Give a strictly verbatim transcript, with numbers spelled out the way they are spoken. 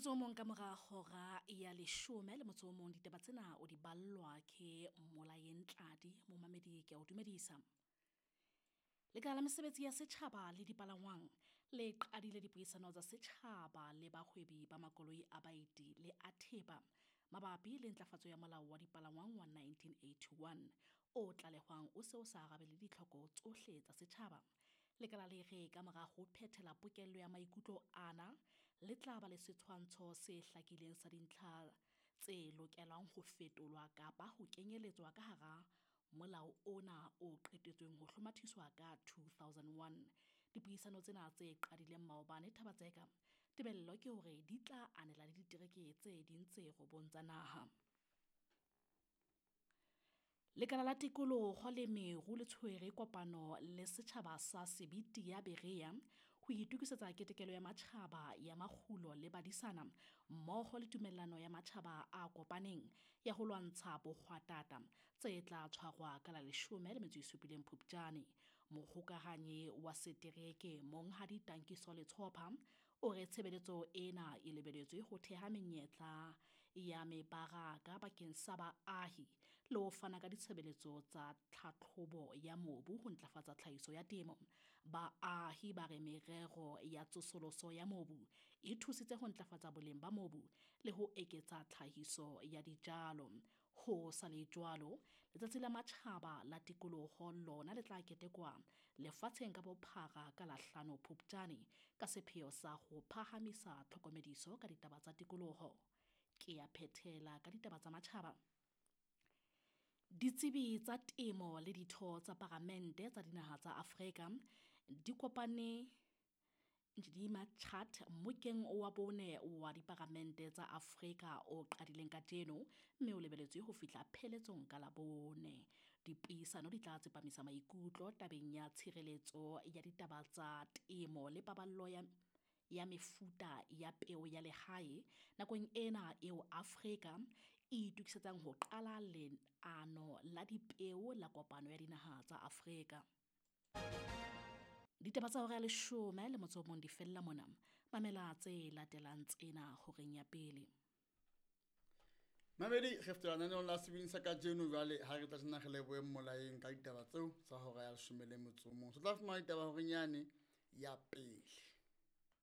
Motsotso o mong ka mora hora ya leshome le motso o mong, ditaba tsena o di ballwa ke Molaeng Tladi. Momamedi, ke a o dumedisa. Lekala la mesebetsi ya setjhaba le dipalangwang le qadile dipuisano tsa setjhaba le bahwebi ba makoloi a baeti le a thepa mabapi le ntlafatso ya molao wa dipalangwang wa nineteen eighty-one o tlalehwang o se o sa arabele ditlhoko tsohle tsa setjhaba. Lekala le re ka mora ho phethela pokello ya maikutlo ana, le tla ba le setshwantsho se hlakileng sa dintlha tse lokelang ho fetolwa kapa ho kenyeletswa ka hara molao ona o qetetsweng ho hlomathiswa ka two thousand one. Dipuisano tsena tse qadileng maobane Thaba-Tseka, tebello ke hore di tla anela le ditereke tse ding tse robong tsa naha. Lekala la tikoloho le meru le tshwere kopano le setjhaba sa Sebiti ya Berea ho itokisetsa ketekelo ya matjhaba ya makgulo le badisana mmoho le tumellano ya matjhaba a kopaneng ya ho lwantsha bohwatata tse tla tshwarwa ka la leshome le metso e supileng Phupjane. Mohokahanyi wa setereke Monghadi Tankiso Letshopha o re tshebeletso ena e lebeletswe ho theha menyetla ya mebaraka bakeng sa baahi le ho fana ka ditshebeletso tsa tlhatlhobo ya mobu ho ntlafatsa tlhahiso ya temo. Baahi ba re merero ya tsosoloso ya mobu e thusitse ho ntlafatsa boleng ba mobu le ho eketsa tlhahiso ya dijalo. Ho sa le jwalo, letsatsi la matjhaba la tikoloho lona le tla ketekwa lefatsheng ka bophara ka la hlano Phupjane ka sepheo sa ho phahamisa tlhokomediso ka ditaba tsa tikoloho. Ke ya phethela ka ditaba tsa matjhaba. Ditsebi tsa temo le ditho tsa paramente tsa dinaha tsa Afrika di kopane Njidima Chat mmokeng wa bone wa diparamente tsa Afrika o qadileng kajeno mme o lebeletswe ho fihla pheletsong ka Labone. Dipuisano di tla tsepamisa maikutlo tabeng ya tshireletso ya ditaba tsa temo le paballo ya, ya mefuta ya peo ya lehae nakong ena eo Afrika e itokisetsang ho qala leano la dipeo la kopano ya dinaha tsa Afrika. Ditaba tsa hora ya leshome le motso o mong di fella mona. Mamela tse latelang tsena horeng ya pele. Mamedi, re fetela lenaneong la sebini sa kajeno jwale ha re tla tjena re lebohe Molaeng ka ditaba tseo tsa hora ya leshome le motso o mong. Re tla fumana ditaba horeng yane ya pele.